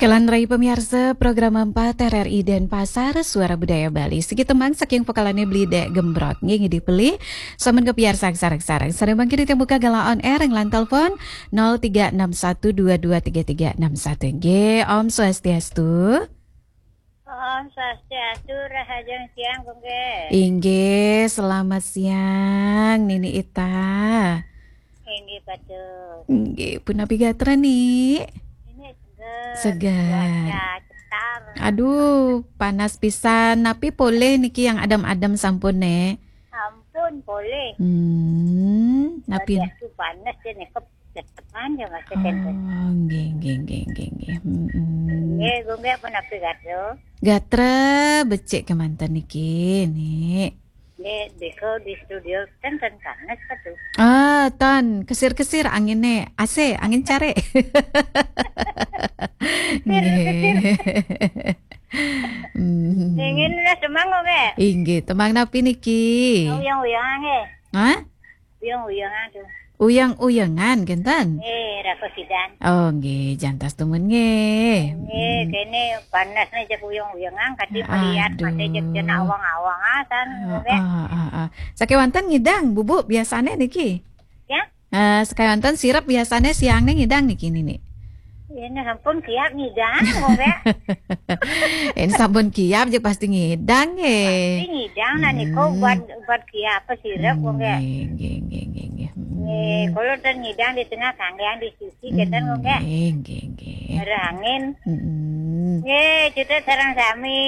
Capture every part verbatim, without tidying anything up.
Kalantaran pamiarsa program empat R R I Denpasar, Suara Budaya Bali. Siki tembang saking pokalane Beli Dek Gembrot. Nggih, nggih, dipeli. Sampun kapiarsa sareng-sareng. Sareng mangkin titiang buka galah on air ring line telepon nol tiga enam satu dua dua tiga tiga enam satu. Nggih, Om Swastiastu. Om Swastiastu, rahajeng siang, Gung Ge. Inggih, selamat siang, Nini Ita. Inggih, patut. Inggih, punapi gatra, Ni? Ini seger. Seger. Cuaca cetar. Aduh, panas pisan. Napi polih niki yang adem-adem sampun, Nek? Ampun, polih. Hmm, napi? Swastiastu, panas ya, nih, kep-, cetepan ya, Mas, Oh, enten. Nggih, nggih, nggih, nggih, nggih. Mm-mm. Nggih, Gung Ge, punapi gatra? Gatra becik kemanten niki, Nek. Nggih, beko di studio ten, ten panas ka tuh? Ah, ten, kesir-kesir anginnya. A C, angin care. Nggih. Hmm. Nggih, nunas tembang, Gung Ge? Inggih, tembang napi niki? Uyang-uyangan, nggih. Hah? Uyang-uyangan tuh. Uyang-uyangan, kenten? Eh, Rako Sidan. Oh, nggih, jantos dumun nggih. Nggih, hmm, kene panasnya cek uyang-uyangan, kadi melihat mate cek cenah awang-awang, ah, san, Gung Ge. Ah, ah, ah, ah. Sakewanten ngidang, Bubu, biasane niki? Ya? Eh, sakewanten sirep biasane siangne ngidang niki, Nini? Ini sampun kiap ngidang, Gung Ge. Ini sampun kiap, ya pasti ngidang, nggih. Pasti ngidang, nah, niku, hmm, obat, obat kiap apa sirep, Gung Ge. Nggih, nggih, nggih, nggih, nggih. Hmm. Nggih, kalau ten ngidang di tengah kangkang di sisi, kenten, Gung Ge. Nggih, nggih, nggih. Ada angin. Mm-mm. Nggih, kita sareng sami,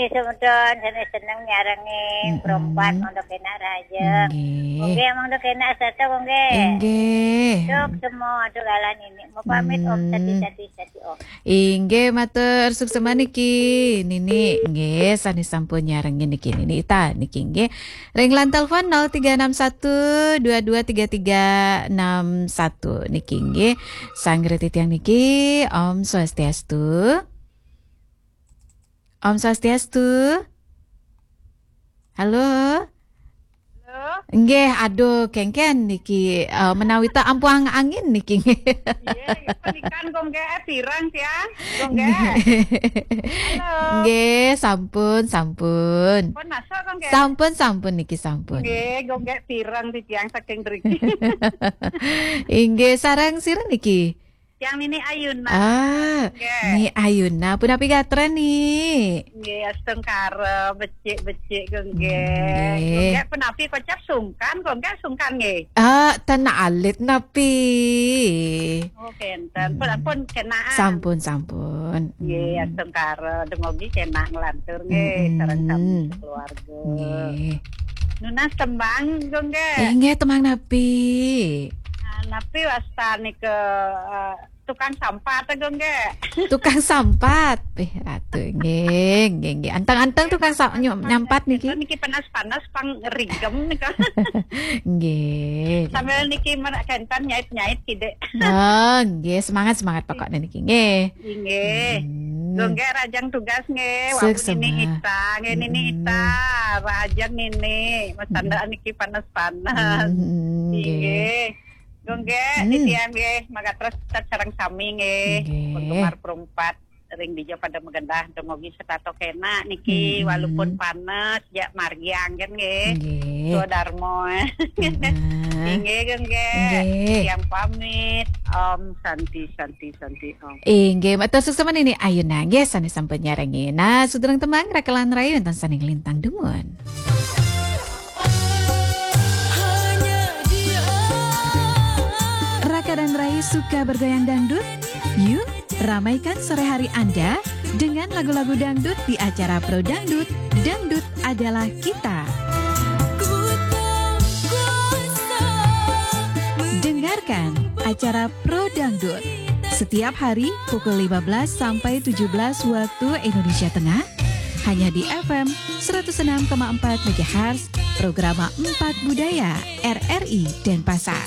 semeton, sane seneng nyarengin, mm-mm, perempat, mangda kenak rahajeng. Nggih. Gung Ge, mangda kenak sareng, Gung Ge. Inggih. Cuk, semua, aduh, galah Nini. Mau pamit, Om, hmm, tadi, tadi, tadi, Om. Inggih, matur suksma niki, Nini. Nggih, sane sampun nyarengin niki, Nini Ita niki, nggih. Ring line telepon nol tiga enam satu dua dua tiga tiga enam satu niki, nggih. Sanggra titiang niki, Om Swastiastu. Om Swastiastu. Halo? Halo? Nggih, aduh, kengken niki, eh, menawi ta ampuang angin niki. Nggih, penikan, Gung Ge, eh, pirang ya, Gung Ge. Nggih. Halo. Nggih, sampun, sampun. Pun masuk, Gung Ge. Sampun, sampun niki, sampun. Nggih, Gung Ge, pirang titiang saking mriki. Inggih, sareng sira niki? Yang Nini Ayuna. Ah, nggih. Ni Ayuna, punapi gatra, Ni? Nggih, astungkara, becik-becik, Gung Ge. Nggih. Gung Ge, punapi kocap sungkan, Gung Ge, sungkan, nggih. Ah, tan alit napi? Oh, kenten. Pun, hmm, pun kenaan. Sampun, sampun. Nggih, hmm, astungkara, dumugi kenak nglantur, nggih, mm-mm, sareng sami keluarga. Nggih. Nunas tembang, Gung Ge. Eh, nggih, tembang napi? Ah, napi wastane ke, eh, tukang sampat, Gung Ge. Tukang sampat. Eh, ratu, nggih, nggih, nggih. Anteng-anteng tukang sa-, nyam-, nyampat niki. Niki panas-panas pang rigem nika. Nggih. Sambil niki menak kenten nyait-nyait kidik. Oh, nggih, semangat, semangat pokoknya niki, nggih. Nggih. Hmm. Gung Ge, rahajeng tugas, nggih. Wau Nini Ita, nggih, Nini Ita. Hmm. Rahajeng Nini. Mas Sandra niki panas-panas. Hmm, nggih. Nggih. Gung Ge, hmm, titiang nggih, mangga terus tetep sareng sami nggih. Nggih. Penggemar perempat ring dija pada magenah, dumugi setata kenak niki, hmm, walaupun panas, ya margi anggen nggih. Nggih. Swadarma. Heeh. Inggih, Gung Ge. Nggih. Titiang pamit. Om Santi, Santi, Santi, Om. Inggih, matur suksma Nini Ayuna nggih, sane sampun nyarengin. Nah, sudereng tembang, Raka lan Rai, wenten sane nglintang dumun. Raka dan Rai suka bergoyang dangdut? Yuk, ramaikan sore hari Anda dengan lagu-lagu dangdut di acara Pro Dangdut, Dangdut Adalah Kita. Dengarkan acara Pro Dangdut setiap hari pukul lima belas sampai tujuh belas waktu Indonesia Tengah, hanya di F M seratus enam koma empat megahertz, Programa empat Budaya, R R I Denpasar.